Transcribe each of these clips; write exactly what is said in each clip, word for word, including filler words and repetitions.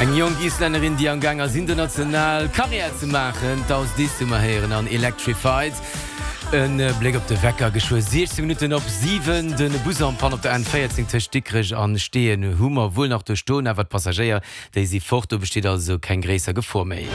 Eng jonk Islännerin, déi am Gaang ass international Karriär ze maachen, d'Ásdís hu mer héieren an Electrified. E Bléck op de Wecker, geschwë siechzéng Minutten op siwen. De Bus en panne op der N véierzéng tëscht Dikrech an Steeën hu mer wuel nach do stoen, awer d'Passagéier, déi si fort, do besteet also keng gréisser Gefor méi.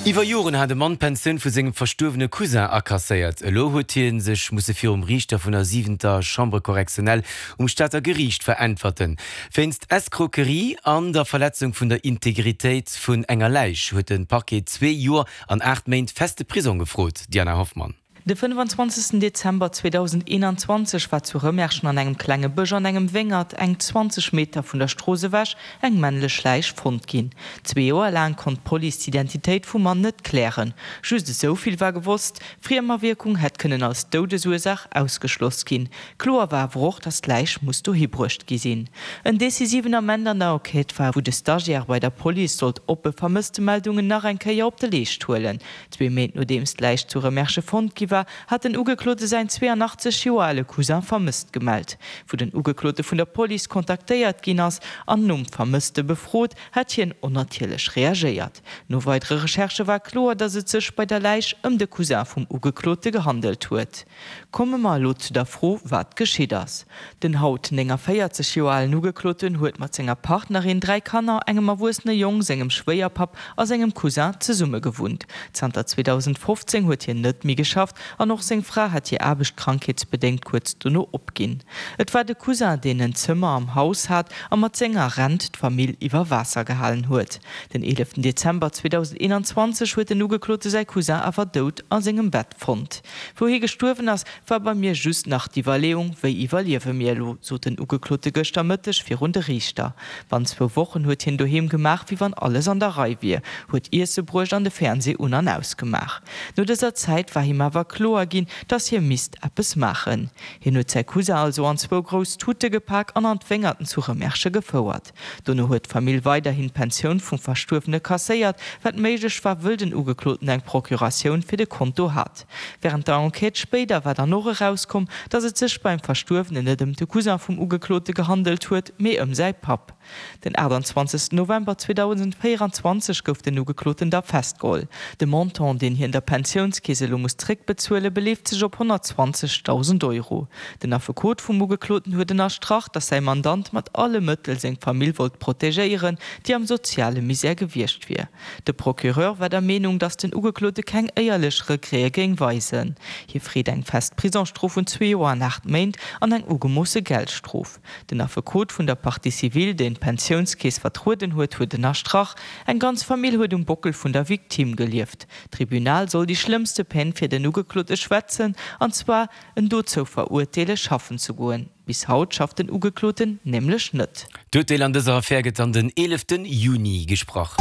Iwwer Joren hat e Mann d'Pensioun vu sengem verstuerwene Cousin akasséiert. Elo huet hie sech musse virum Riichter vun der siwenter Chambre correctionnelle um Stater Geriicht veräntwerten. Wéinst Escroquerie an der Verletzung vun der Integritéit vun enger Läich huet de Parquet zwee Joer an aacht Méint feste Prisong gefrot. Diana Hoffmann. De fënnefanzwanzegsten Dezember zweedausendeenanzwanzeg war zu Rëmerschen an engem klenge Bësch an engem Wéngert, eng zwanzeg Meter vun der Strooss ewech, eng männlech Läich fonnt ginn. Zwee Joer laang konnt d'Police d'Identitéit vum Mann net klären. Just esou vill war gewosst, Friemawierkung hätt kënnen als Doudesursaach ausgeschloss ginn. Kloer war awer och, datt d'Läich muss dohi bruecht gi sinn. En decisiven Ament an der Enquête war, wou de Stagiaire bei der Police sollt oppe Vermësstemeldungen nach eng Kéier op de Leescht huelen. Zwee Méint nodeems d'Läich zu Remerschen fonnt gi war, hat den Ugeklote säin zweeanachtzeg Joer ale Cousin vermësst gemellt. Wou den Ugeklote vun der Police kontaktéiert ginn ass an nom Vermësste befrot, hätt hien onnatierlech reagéiert. No weidere Recherchë war kloer, datt et sech bei der Läich ëm de Cousin vum Ugeklote gehandelt huet. Komme mer elo zu der Fro, wat geschitt ass. Den haut néngavéierzeg Joer alen Ugekloten huet mat senger Partnerin, dräi Kanner, engem erwuessene Jong, sengem Schwéierpapp a sengem Cousin zesumme gewunnt. Zanter zweedausendfofzéng huet hien net méi geschafft an och seng Fra hat hir Aarbecht krankheetsbedéngt kuerz dono opginn. Et war de Cousin, deen en Zëmmer am Haus hat a mat senger Rent d'Famill iwwer Waasser gehalen huet. Den eeleften Dezember zweedausendeenanzwanzeg huet den Ugeklote säi Cousin awer dout a sengem Bett fonnt. Wou hie gestuerwen ass, war bei mir just nach d'Iwwerleeung, wéi iwwerliewe mir elo, sot den Ugeklote gëschter Mëtteg virun de Riichter. Bannt zwou Wochen huet hien doheem gemaach, wéi wann alles an der Rei wier, huet Iesse bruecht an de Fernsee un an aus gemaach. No dëser Zäit war him awer kloer ginn, dass hie misst eppes maachen. Hien huet säi Cousin also an zwou grouss Tute gepak an an d'Wéngerten zu Remerschen gefouert. Dono huet d'Famill weiderhin d'Pensioun vum Verstuerwene kasséiert, wat méiglech war, wëll den Ugekloten eng Procuratioun fir de Konto hat. Wärend der Enquête spéider war dann och erauskomm, dass et sech beim Verstuerwenen net ëm de Cousin vum Ugeklote gehandelt huet, mee ëm säi Papp. Den aachtanzwanzegsten November zweedausendvéieranzwanzeg gouf den Ugekloten da festgeholl. De Montant, deen hien der Pensiounskeess elo muss zréckbezuelen, beleeft sech op honnertzwanzegdausend Euro. Den Affekot vum Ugekloten huet ënnerstrach, datt säi Mandant mat alle Mëttel seng Famill wollt protegéieren, déi am soziale Misär gewiescht wier. De Procureur war der Meenung, datt den Ugeklote keng éierlech Regrete géing weisen. Hie freet eng fest Prisongsstrof vun zwee Joer an aacht Méint an eng ugemoosse Geldstrof. Den Affekot vun der Partie civile, deen d'Pensiounskeess vertrueden huet, huet ënnerstrach, Eng ganz Famill huet um Bockel vun der Victime gelieft. D'Tribunal soll déi schlëmmste Peine fir den Ugeklote schwätzen, an zwar en dozou verurteele schaffen ze goen. Bis haut schafft den Ugekloten nämlech net. D'Urteel an dëser Affär gëtt dann den eeleften Juni gesprach.